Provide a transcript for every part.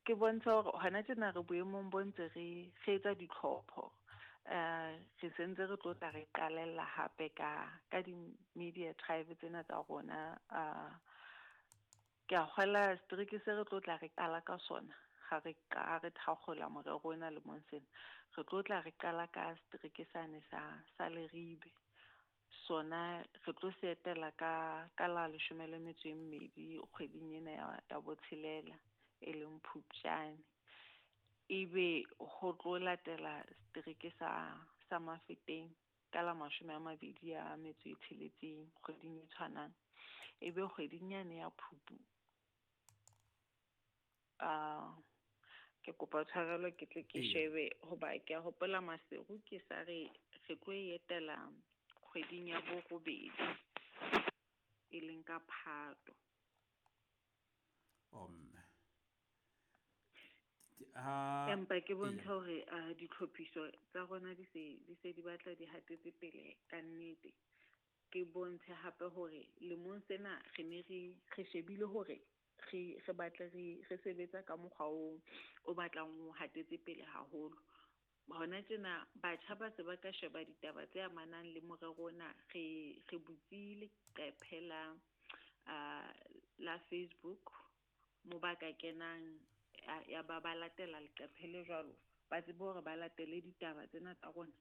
Ke bontsha hore hona tjena re boemong bo ntse re re etsa ditlhopho. Re sentse re tlo tla re qalella hape ka di-media tribe tsena tsa rona. Ke a kgola setereke se re tlo tla re qala ka sona ha re ka re thakgola morero ona lemong sena. Re tlo tla re qala ka setereke sane sa Leribe. Sona re tlo se etela ka la 12 kgweding ena ya botshelela, e leng Phupjane. Ebe ho tlo latela setereke sa Mafeteng ka la 26 kgweding e tshwanang. Ebe kgweding yane ya Phupu, ke kopa tshwarelo ke tle ke shebe hoba ke a hopola Maseru ke sa re re tlo e etela kgweding ya borobedi, e leng ka Phato. Omme. Empa ke bontsha hore ditlhophiso tsa rona di se di batla di hatetse pele ka nnete. Ke bontshe hape hore lemong sena re ne re shebile hore re batle re sebetsa ka mokgwa o batlang o hatetse pele haholo. Hona tjena batjha ba se ba ka sheba ditaba tse amanang le morero ona. Re butse leqephe la Facebook mo ba ka kenang ya ba latela leqephe le jwalo, ba tsebe hore ba latele ditaba tsena tsa rona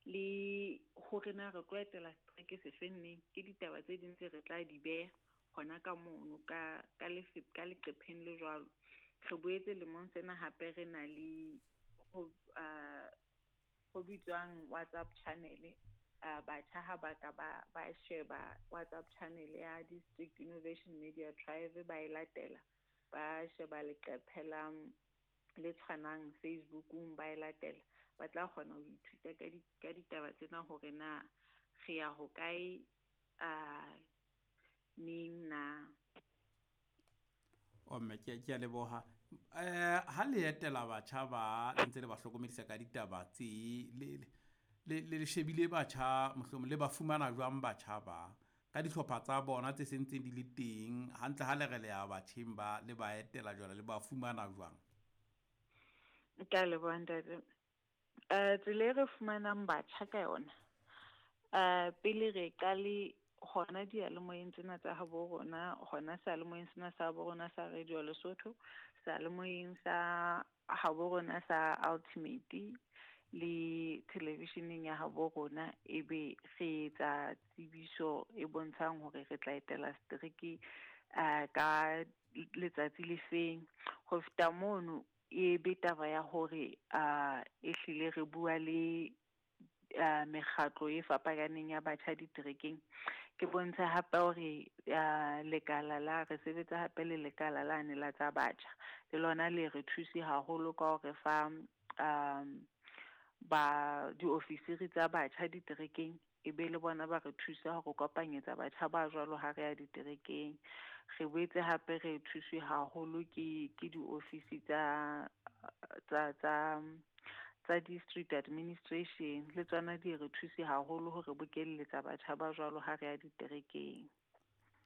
le hore na re tlo etela setereke se feng neng. Ke ditaba tse ding tse re tla di beha hona ka mono ka leqepheng le jwalo. Re boetse lemong sena hape re na le ho bitswang WhatsApp channel. Batjha ha ba ka ba sheba WhatsApp channel ya District Innovation Media Tribe, ba e latela, ba sheba leqephe la le tshwanang Facebookong, ba e latela, ba tla kgona ho ithuta ka ditaba tsena hore na re ya hokae, neng na. Omme, ke a leboha. Ha le etela batjha ba le ntse le ba hlokomedisa ka ditaba tse le shebile batjha, mohlomong le ba fumana jwang batjha ba ka dihlopha tsa bona tse sentseng di le teng hantle? Ha le re le ya batjheng ba le ba etela jwale, le ba fumana jwang? Ke a leboha ntate. Tsela e re fumanang batjha ka yona, pele re qale hona diyalemoyeng tsena tsa habo rona, hona seyalemoyeng sena sa habo rona sa Radio Lesotho, seyalemoyeng sa habo rona sa Ultimate le televisioneng ya habo rona, ebe re etsa tsebiso e bontshang hore re tla etela setereke ka letsatsi le feng. Ho feta mono, e be taba ya hore ehlile re bua le mekgatlo e fapaneng ya batjha diterekeng. Ke bontsha hape hore lekala la re sebetsa hape le lekala lane la tsa batjha, le lona le re thuse haholo ka hore fa ba diofisiri tsa batjha diterekeng, e be le bona ba re thusa hore kopanyetsa batjha ba jwalo ha re ya diterekeng. Re boetse hape re thuswe haholo ke diofisi tsa district administration, le tsona di re thuse haholo hore bokelletsa batjha ba jwalo ha re ya diterekeng.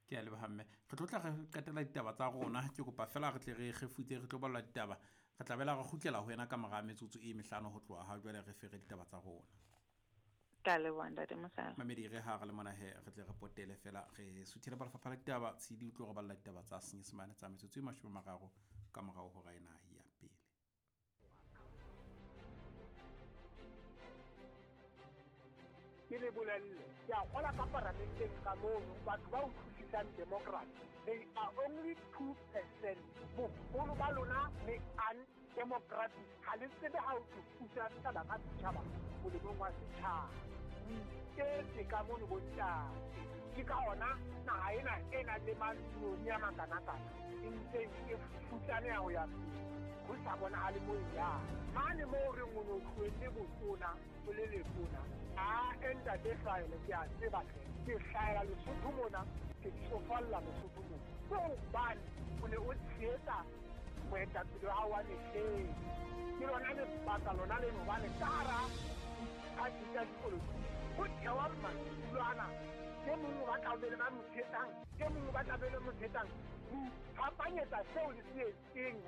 Ke a leboha mme. Re tlo tla re qetela ditaba tsa rona. Ke kopa fela re tle re kgefutse, re tlo balla ditaba. Re tla bela re kgutlela ho yena ka mora metsotso e mehlano ho tloha ha jwale re fere ditaba tsa rona. Ka leboha ntate Mosala. Mamedi re ha re le mona he re tle re potele fela re suthele ba lefapha la ditaba. Tshidi o tlo re balla ditaba tsa Senyesemane tsa metsotso e 30 ka morao hora ena ya pele. Ke le bolelle, ke a kgola ka paramenteng ka mono, batho ba utlwisisang democracy, they are only 2%. Boholo ba lona le undemocratic, ha le tsebe ha o tlo pusa setjhaba ka setjhaba molemong wa setjhaba. O iketse ka mono bontate. Ke ka hona naha ena e nang le mantsione a makanakana e ntseng e futsaneha ho ya pele, ho sa bonahale moo e yang. Mane moo re reng o no tlohelle botona o le letona, a ntate hlahele, ke a tseba hle, ke hlahela Lesotho mona, ke tsofalla Lesotho mona. Ke hobane o ne o tshehetsa moetapele wa hao wa mehleng. Ke lona lebaka lona leno hobane ka hara diphathi tsa dipolotiki ho thewa madulo ana. E mong o batla ho be le ba mo tshehetsang, e mong o batla be le mo tshehetsang. Ho iphapanyetsa seo le se etseng.